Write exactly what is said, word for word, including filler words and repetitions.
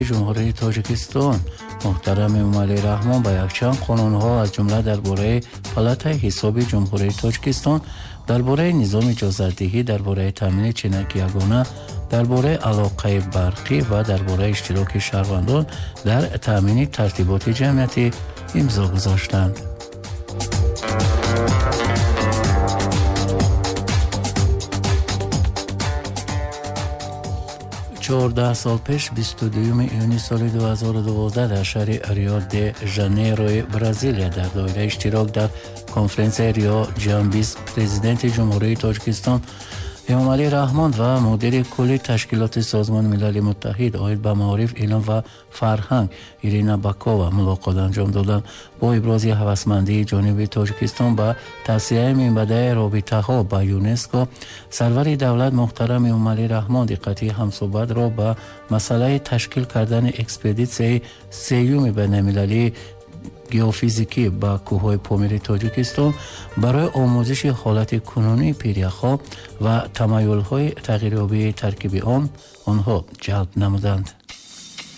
Ҷумҳурии Тоҷикистон муҳтарам Эмомалӣ Раҳмон ба якчанд қонунҳо, аз ҷумла дар бораи Палатаи ҳисоби Ҷумҳурии Тоҷикистон, дар бораи низоми иҷозатдиҳӣ, дар бораи таъмини ченаки ягона, дар бораи алоқаи барқӣ ва дар бораи иштироки шаҳрвандон дар таъмини тартиботи ҷамъиятӣ имзо гузоштанд. Чордаҳ сол пеш, бисту дуюми июни соли ду ҳазору дувоздаҳ, дар шаҳри Рио де Жанейрои Бразилия дар доираи иштирок дар конференсияи Рио Ҷамбис президенти Ҷумҳурии Тоҷикистон Эмомалӣ Раҳмон ва мудири кулли Ташкилоти Созмони Милали Муттаҳид оид ба маориф, илм ва фарҳанг Ирина Бакова мулоқот анҷом доданд. Бо ибрози ҳавасмандии ҷониби Тоҷикистон ба тавсияи минбаъдаи робитаҳо ба ЮНЕСКО, сарвари давлат муҳтарам Эмомалӣ Раҳмон диққати ҳамсӯҳбатро ба масъалаи ташкил кардани экспедитсияи сеюми байналмилалии геофизикӣ ба кӯҳҳои Помири Тоҷикистон барои омӯзиши ҳолати кунунии пиряхҳо ва тамаюлҳои тағйирёбии таркиби он онҳо ҷалб намуданд.